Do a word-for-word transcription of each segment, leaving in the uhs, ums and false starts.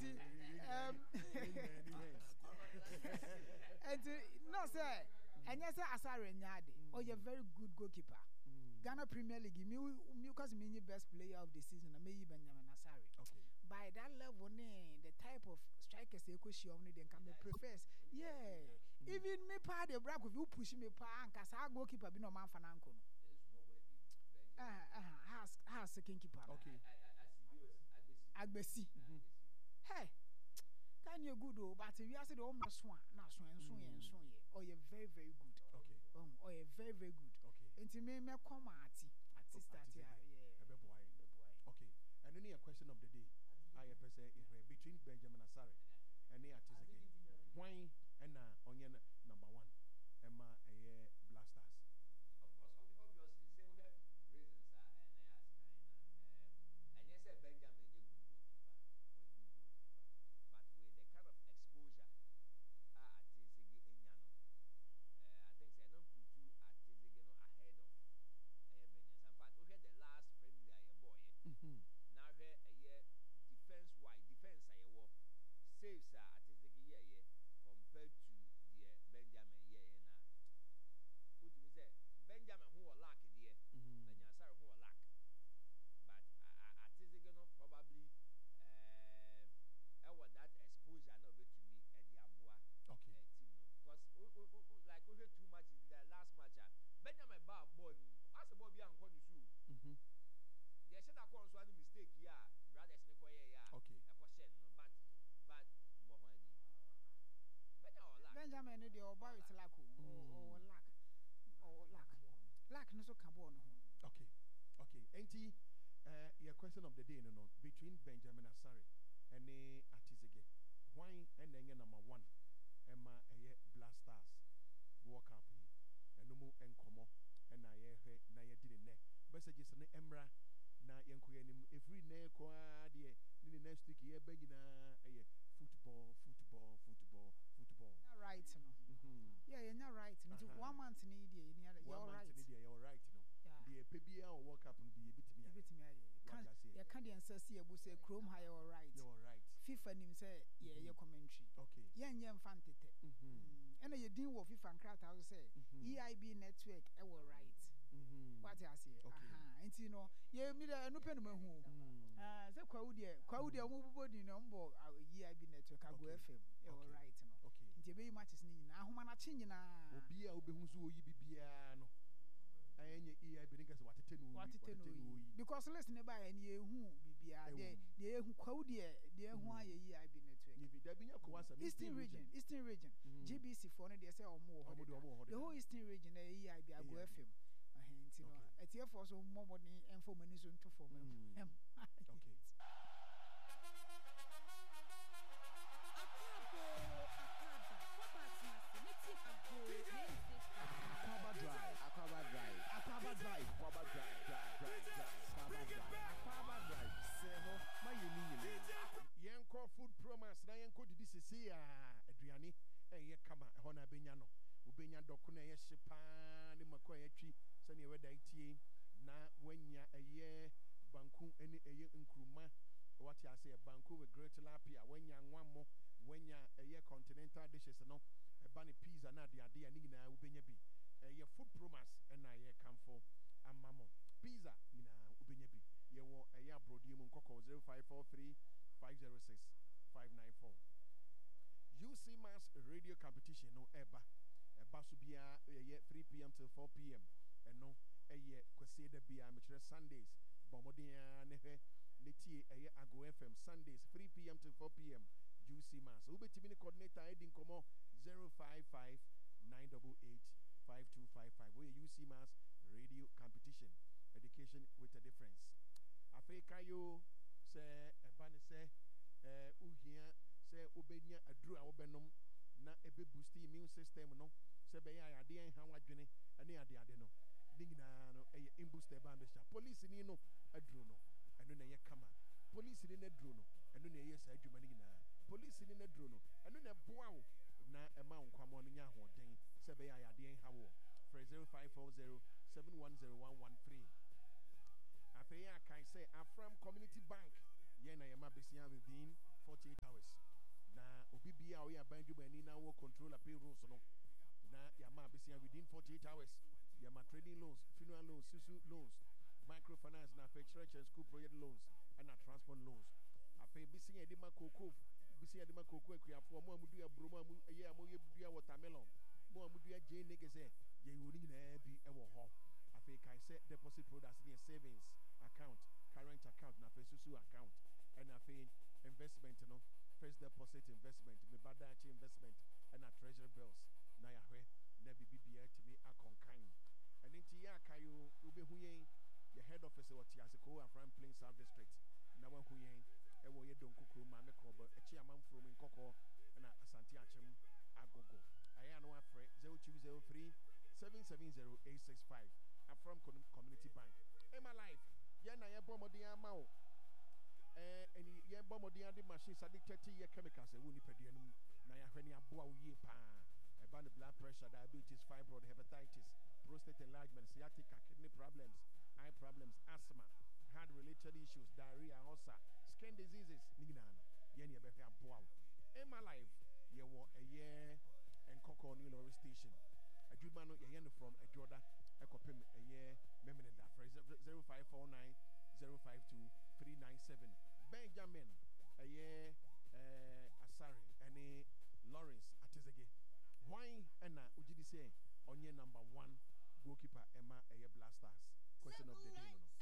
Nti um, nti no sɛ ɛnyɛ sɛ Asare nya ade, ɔyɛ very good goalkeeper. Ghana Premier League, mi mi kasi mi nyi best player of the season na meyi Benjamin Asare. Okay. By that level ne the type of strikers ekɔ hyia ɔmo ne deɛ, nka me prefers, yeah, even me paa de bra Kofi wo push me paa, nka saa goalkeeper bi na ɔmo anfa nanko no, ɛhɛn ɛhɛn has has second keeper no. Okay. Agbesi, hey, kan yɛ good o, but wiase de ɔmo so a na so nso yɛ nso yɛ ɔyɛ very very good. Okay. Ɔho ɔyɛ very very good. Okay. Nti me mɛ kɔ ma ati ati start a, yeah. Ɛbɛboa yɛ. Ɛbɛboa yɛ. Okay, ɛno ne yɛ question of the day a yɛpɛ sɛ yɛhwɛ between Benjamin Asare ɛne Atizige, hwan ɛna ɔnyɛ no number one ɛma ɛyɛ Black Stars? Of course, obvi- obviously, sɛ wohwɛ reasons a ɛna yɛ asikan na ɛnyɛ sɛ Benjamin nyɛ good goalkeeper, ɔyɛ good goalkeeper, but with the kind of exposure a Atizige enya no, uh, I think sɛ ɛno put Atizige no ahead of ɛyɛ Benjamin. In fact, wohwɛ the last friendly a yɛbɔɔyɛ na hwɛ ɛyɛ defence wide defence a yɛwɔ, saves a Atizige yɛɛyɛ compared to deɛ Benjamin yɛɛyɛ na wotumi sɛ Benjamin ho wɔ luck deɛ, Benjamin Asare ho wɔ luck, but Atizige no probably ɛɛ ɛwɔ that exposure na obetumi ɛde aboa Okay. uh, team no, because o o o like wohwɛ two matches, the last match a Benjamin ba ball no asɛ ball bi ankɔ ne so o, deɛ ɛhyɛ da kɔɔ nso ani mistake yi a brothers ne kɔ yɛ yɛ a Okay. ɛkɔ hyɛ no no, but but bɔ ho adi Benjamin wɔ luck. Benjamin no deɛ, ɔba with luck o, ɔwɔ luck, ɔwɔ luck, luck no so ka bɔɔl no ho. okay okay nti uh, yɛ question of the day no no between Benjamin Asare ɛne Atizige, hwan ɛna ɛnyɛ number one ɛma ɛyɛ Black Stars World Cup yi? Ɛno mu nkɔmɔ ɛna yɛhwɛ na yɛdi ne nɛ messages no mmra na yɛnkɔ yɛn anim. Ɛfiri nnɛ kɔ ara deɛ ne ne next week yɛbɛ nyinaa ɛyɛ football, football, football, football. Yɛnya right no, yɛ yɛnya right no, nti Aha. one month ne yi deɛ yɛnya One yɛwɔ month right. Ne deɛ yɛwɔ right no. Yeah. Deɛ ɛpɛ biara wɔ World Cup no bi yɛbɛtumi ayɛ. Yɛbɛtumi ayɛ. Wate Yɛka aseɛ. yɛka deɛ nsa si yɛbo sɛ kurom ha yɛwɔ right. Yɛwɔ right. FIFA nim sɛ yɛyɛ commentary. Okay yɛnyɛ mfa ntetɛ. Mhm. Mm, ɛna yɛdin wɔ FIFA nkrataa so sɛ E I B network ɛwɔ right. Mhm. Wate aseɛ? Okay. Aha, nti no yɛ mi dɛ ɛno pɛ no mahu o. Ah, sɛ Kwawu deɛ, Kwawu deɛ ɔmo bobɔ din no, ɔmo bɔ ah, E I B network Ago Okay. F M yɛwɔ Okay. right no. Okay. Nti ɛbɛyi matches no nyinaa ahomanakye nyinaa. Obi a wobɛhu so oyi bibiara no ɛnyɛ E I B ne nkɛ sɛ watete no oyi. Watete no oyi, because list ne ba yɛ no, yɛhu biribiara. Ɛwɔ deɛ mu. Deɛ yɛhu Kwawu deɛ, deɛ ɛho ayɛ E I B network. Yibi dabi nyɛ kɔwa asɛm. Eastern Region, Eastern Region, G B C foɔ no deɛ sɛ ɔmo wɔ hɔ Ɔmo deɛ deda. ɔmo wɔ hɔ The deda. whole Eastern Region ɛyɛ E I B Ago E I B. F M. Ɛhɛn, nti no Okay. atiefoɔ so mmɔ mmɔden ɛmfa ɔmo ani so nto fam. Mm. Okay. Akwaaba, akwaaba, kwaba atena ase ne tie Ago ninety-six. Akwaaba Drive. Akwaaba Drive. Akwaaba Drive. Akwaaba Drive. Drive. Drive. Drive. Akwaaba Drive. Akwaaba Drive. Sɛ hɔ ma yɛ ni nyinaa. Yɛnkɔ Food Promas na yɛnkɔ didi sese a aduane ɛyɛ kama ɛhɔ na abɛnya no. Wobɛnya dɔko na ɛyɛ hye paa ne mako a yɛatwi sɛnea ɛwɛda tie na wanya ɛyɛ banku ne ɛyɛ nkuruma, wate ase, banku with grilled tilapia, wanya nwammo, wanya ɛyɛ continental dishes no, ɛba ne pizza na adeade a ne nyinaa wobɛnya bi. Ɛyɛ Food Promas ɛna ɛyɛ kamfo ama mo. Pizza nyinaa wobɛnya bi. Yɛwɔ ɛyɛ aborɔdeɛ mu nkɔkɔ zero five four three five zero six five nine four. U C Mass Radio Competition no ɛba ɛba so biara ɛyɛ three p m till four p m. Ɛno ɛyɛ Kwasi da biara, mekyerɛ Sundays. Bɔ mmɔden ara ne hwɛ ne tie ɛyɛ Ago F M Sundays three p m till four p m. U C Mass wobɛtumi ne coordinator ɛdi nkɔmmɔ zero five five nine eight eight five two five five. Woyɛ U C Mass Radio Competition, education with a difference. Afei kayo sɛ ɛba ne sɛ ɛɛ wohia sɛ wobɛnya aduro a wobɛnom na ɛbɛ boost immune system no sɛ ɛbɛyɛ a adeɛ nha wadwene ɛne adeade no ne nyinaa no, ɛyɛ Imboost Herbal Mixture. Polisi ni no aduro no, ɛno na ɛyɛ kama. Polisi ni no aduro no, ɛno na ɛyɛ saa adwuma no nyinaa. Polisi ni no aduro no, ɛno na ɛboa wo na ɛma wo nkwammoa no nya ahoɔden sɛ ɛbɛyɛ a yadeɛ nha wɔ. Frɛ zero five four zero seven one zero one one three. Afei yɛ akae sɛ Afram Community Bank yɛn na yɛma besia within forty-eight hours. controller payrolls no na yɛama abesia within forty-eight hours. Yɛma trading loans, funeral loans, susu loans, microfinance, na afei church and school project loans ɛna transport loans. Afei bisi yɛde ma kooko, bisi yɛde ma kooko akuafoɔ, mo a mo dua aburo, mo a mo ɛyɛ a mo yɛ dua watermelon, mo a mo dua gyeene kɛsɛ, yɛyɛ wɔn nyinaa bi ɛwɔ hɔ. Afei kae sɛ deposit products ne yɛ savings account, current account, na afei susu account, ɛna afei investment no, first deposit investment, meba daakye investment, ɛna treasury bills. Na yɛahwɛ na biribi biara tumi akɔnkan. Ɛno nti yɛ akae o, wobɛhu yɛn yɛ head office wɔ Tiaseko, Afram Plain South District, na wahu yɛn ɛwɔ yɛ Donko kurom, Maame Korɔbɔ akyi, amanfurom Nkɔkɔ, ɛna Asante Akyem Agogo. Ɛyɛ ano afrɛ zero two zero three seven seven zero eight six five. Afram Community Bank, Emma Life, yɛn na yɛbɔ mmɔden ama wo ɛɛ ɛni yɛbɔ mmɔden ade machines ade thirty year chemicals ɛwɔ nipadua no mu na yɛahwɛ ne aboa wo yie paa. Ɛba no blood pressure, diabetes, fibroid, hepatitis, prostate enlargement, sciatica, kidney problems, eye problems, asthma, heart related issues, diarrhea, ulcer, skin diseases ne nyinaa no, yɛn ne yɛbɛhwɛ aboa wo. Emma Life, yɛwɔ ɛyɛ Nkɔkɔ ne lorry station. Adwuma no yɛyɛ no from Adwoda ɛkɔpem ɛyɛ Memeneda. Frɛ zero five four nine zero five two three nine seven. Benjamin ɛyɛ ɛɛ Asare ɛne Lawrence Atizege, hwan ɛna ogye di sɛ ɔnyɛ number one goalkeeper ɛma ɛyɛ Black Stars? Question of the day no no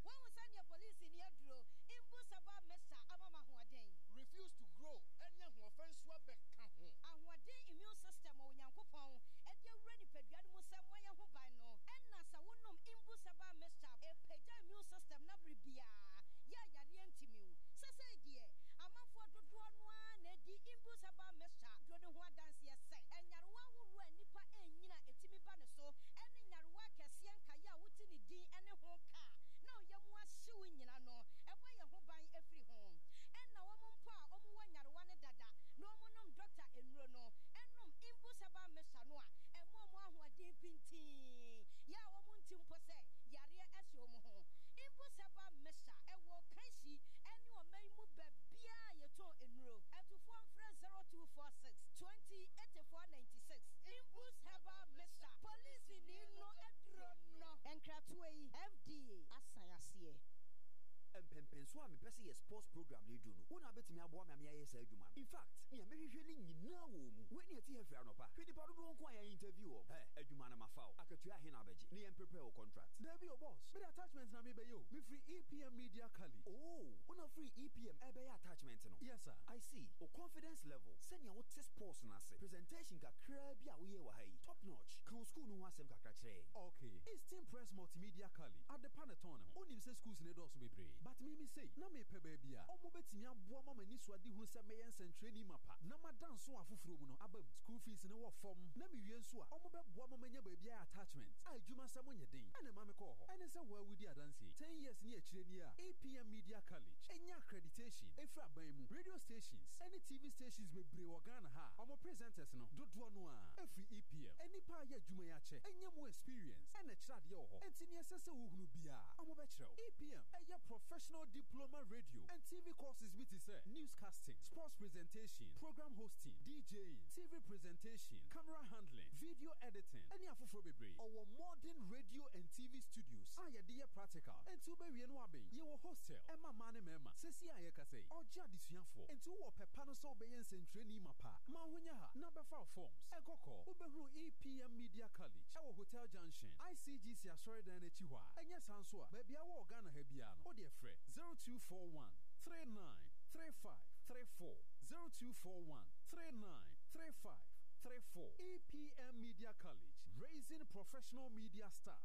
Wɔn sɛ polisi ni aduro mbu saba mesa ama ma ahoɔden. Refuse to grow ɛne ahoɔfɛ nso abɛka ho. Ahoɔden immune system a Onyankopɔn ɛde awura nipadua no mu sɛ mmɔyɛ ho ban no, ɛna sɛ wonom Imbu Saba mixture, ɛpagya immune system na bere biara yɛ yareɛ ntimiw. Sɛsɛi deɛ amanfoɔ dodoɔ no ara na ɛdi Imbu Saba mixture duro no ho adanseɛ sɛ ɛnyarewa ahoroɔ a nnipa ɛnyina ɛtumi ba ne so, ɛne nyarewa akɛseɛ nkaeɛ a wote ne din ɛne ho kaa na ɔyɛ mu ahyew nyina no, ɛbɔ yɛn ho ban afiri ho. Ɛna wɔn mpo a wɔwɔ nyarewa no dada na wɔnom dɔkta nnuro no, ɛnom Imbu Saba mixture no a, ɛma wɔn ahoɔden pintii yɛ a wɔn nti mpo sɛ yareɛ ɛhyɛ wɔn ho. Imbu Saba mixture ɛwɔ Kanhyi ɛne ɔman mu baabiara yɛtɔn nnuro. Ɛtufoɔ mfrɛ zero two four six twenty eighty-four ninety-six. Imbu Herbal Mixture, polisi ni no aduro no. Nkratoɔ yi, F D A asan aseɛ. Mpɛmpɛnso a mepɛ sɛ yɛ sports program no du no, wo na wobɛtumi aboa me a meyɛayɛ saa adwuma no. In fact, nea mehwehwɛ no nyinaa wɔ mu. Wei ne ɛte ha firi anɔpa, hwɛ nipa dodoɔ nko a yɛn interview wɔ ɛ adwuma no. Mafa wo akatua ahe na abɛgye ne yɛn prepare wo contract? Dabi o boss, mede attachment na mebɛyɛ o. Mefiri E P M Media College. Oh, wona firi E P M ɛbɛyɛ attachment no? Yes sir. I see. O confidence level, sɛnea wote sports no ase, presentation kakraa bi a woyɛ wɔ ha yi, top notch. Ka wo school no ho asɛm kakra kyerɛ yɛn. Okay, Eastern Press Multimedia College, adepa ne tɔn ne ho. Wonim sɛ schools ne dɔɔso bebree, but mimi sei na mepɛ baabi a ɔmo bɛtumi aboa ma m'ani so ade hunu sɛ mɛyɛ nsɛntwerɛni mapa na mada nso afoforɔ mu no aba mu. School fees ne wɔ fam, na mewie nso a ɔmo bɛboa ma manya baabi ayɛ attachment a adwuma sɛ monyɛ den. Ɛna ma mekɔɔ hɔ ɛne sɛ woawudi adanseɛ ten years ne akyire ni a E P M Media College ɛnya accreditation ɛfiri aban mu. Radio stations ɛne T V stations bebree wɔ Ghana ha a ɔmo presenters no dodoɔ no a ɛfiri E P M. Ɛnipa a yɛ adwuma yi akyɛ ɛnyɛ mu experience ɛna ɛkyerɛ adeɛ wɔ hɔ, enti neɛ ɛsɛ sɛ wohunu biara ɔmo bɛkyerɛ wo. E P M ɛyɛ professional diploma radio and T V courses bi te sɛ newscasting, sports presentation, program hosting, DJing, T V presentation, camera handling, video editing ɛne afoforɔ bebree. Ɔwɔ modern radio and T V studios a yɛde yɛ practical, enti wobɛwie no abɛn. Yɛwɔ hostel ɛma mmaa ne mmarima. Sɛsi a yɛkasa yi, ɔgye adesuafoɔ, enti wowɔ pɛpa no sɛ wobɛyɛ nsɛntwerɛni ma pa ma ho nyɛ ha na bɛfa wo forms. Ɛkɔkɔ wobɛhunu E P M Media College ɛwɔ Hotel Junction, I C G C asɔredan no akyi hɔ a ɛnyɛ saa nso a baabi a wɔ Ghana ha biara no, wode frɛ zero two four one three nine three five three four, zero two four one three nine three five three four. E P M Media College, raising professional media stars.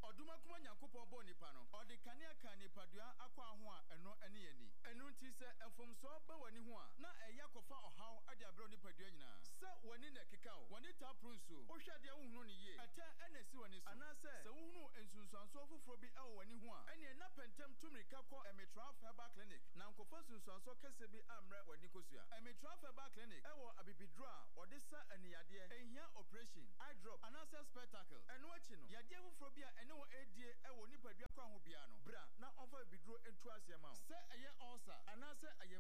Ɔdomakoma Nyankopɔn bɔɔ nipa no, ɔde kanea ka nipadua akɔ aho a ɛno ne ani. Ɛno nti sɛ mfomsoɔ ba w'ani ho a, na ɛyɛ akɔfa ɔhaw de abrɛ wo nipadua nyinaa. Sɛ w'ani na ɛkeka wo, w'ani taa poro nsuo, wohwɛ adeɛ wohunu no yie, ɛtɛ ɛna ɛsi w'ani so, anaasɛ sɛ wohunu nsunsuansoɔ foforɔ bi ɛwɔ w'ani ho a, ɛneɛ na pɛntɛm tu mmirika kɔ Emitraf Herbal Clinic na nkɔfa nsunsuansoɔ kɛseɛ bi ammrɛ w'ani kosua. Emitraf Herbal Clinic ɛwɔ abibiduro a ɔde sa aniyadeɛ, ɛnhia operation, eye drop anaasɛ spectacle. Ɛno akyi no, yadeɛ foforɔ bi a ɛne wɔn ɛredie ɛwɔ nipadua kwan ho biara no, bra na ɔmfa bibiduro ntu aseɛ ma wo. Sɛ ɛyɛ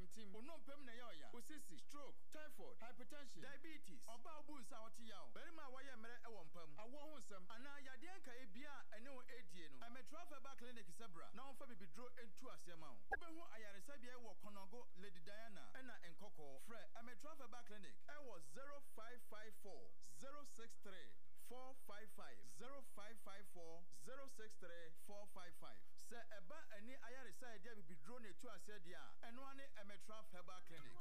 Ntim, wo nnompem na ɛyɛ ɔya, wo sisi, stroke, typhoid, hypertension, diabetes, ɔbaa a wobu nsa a ɔte yaw, barima a wayɛ mmerɛ wɔ mpa mu, awoɔ ho nsɛm, anaa yadeɛ nkaeɛ biara a ɛne wo ɛredie no, Ɛmɛtra Herbal Clinic sɛ bra na wɔmfa bibiduro ntu aseɛ ma wo. Wobɛhu ayaresabea yi wɔ Kɔnɔgo, Lady Diana, ɛna Nkɔkɔɔ. Frɛ Ɛmɛtra Herbal Clinic ɛwɔ zero five five four zero six three four five five, zero five five four zero six three four five five. Sɛ ɛba ani ayaresa a yɛde abibiduro na ɛtu aseɛ deɛ a, ɛno ara ne Ɛmɛtra Herbal Clinic.